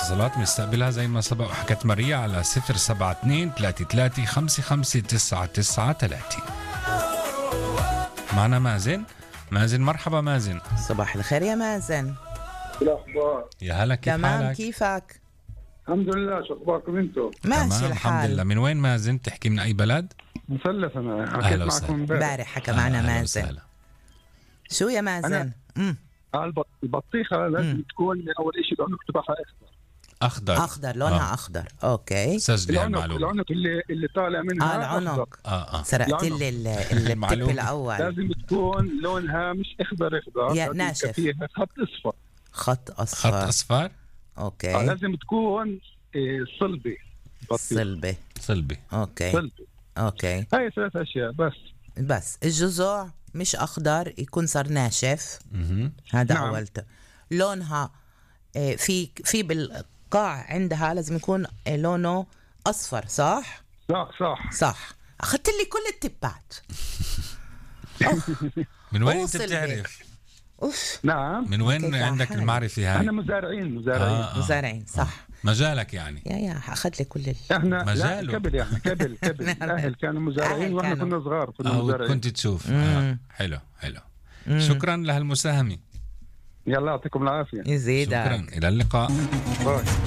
اتصالات مستقبلها زي ما سبق وحكت ماريا على 072-33-55993. معنا مازن. مازن مرحبا مازن. صباح الخير يا مازن. الأخبار يا هلا كيف تمام حالك؟ كيفك؟ الحمد لله. شو أخباركم أنتم؟ ماشي تمام الحمد الحال. لله. من وين مازن؟ تحكي من أي بلد؟ مثلث. أنا حكيت أهلا معكم وسهلا. امبارح حكى معنا أهلا مازن. وسهلا. شو يا مازن؟ البطيخة لازم تكون أول شيء العنق تبعها أخضر. أخضر لونها أخضر. أوكي. سجلي هالمعلومة. العنق اللي طالع منها العنق. أخضر. سرقت لي التب معلومة. الأول. لازم تكون لونها مش أخضر يا لازم ناشف. فيها خط أصفر. خط خط أصفر. أصفر. أوكي. لازم تكون صلبة. صلبة. صلبي. أوكي. صلبة. أوكي. هاي 3 أشياء بس الجذوع مش أخضر، يكون صار ناشف. هذا نعم. أولته. لونها في بالقاع عندها لازم يكون لونه أصفر. صح؟ صح. أخذت لي كل التبات. من وين أنت أوصل بتعرف؟ أوف. نعم. من وين كيف عندك حالك؟ المعرفة هاي؟ أنا مزارعين. مزارعين صح. مجالك يعني. يا أخذ لي كل احنا مجاله. قبل الأهل كانوا مزارعين واحنا كنا صغار كنا مزارعين. كنت تشوف. حلو. شكرا لهالمساهمة. يلا يعطيكم العافية. يزيدك. شكرا. إلى اللقاء. باي.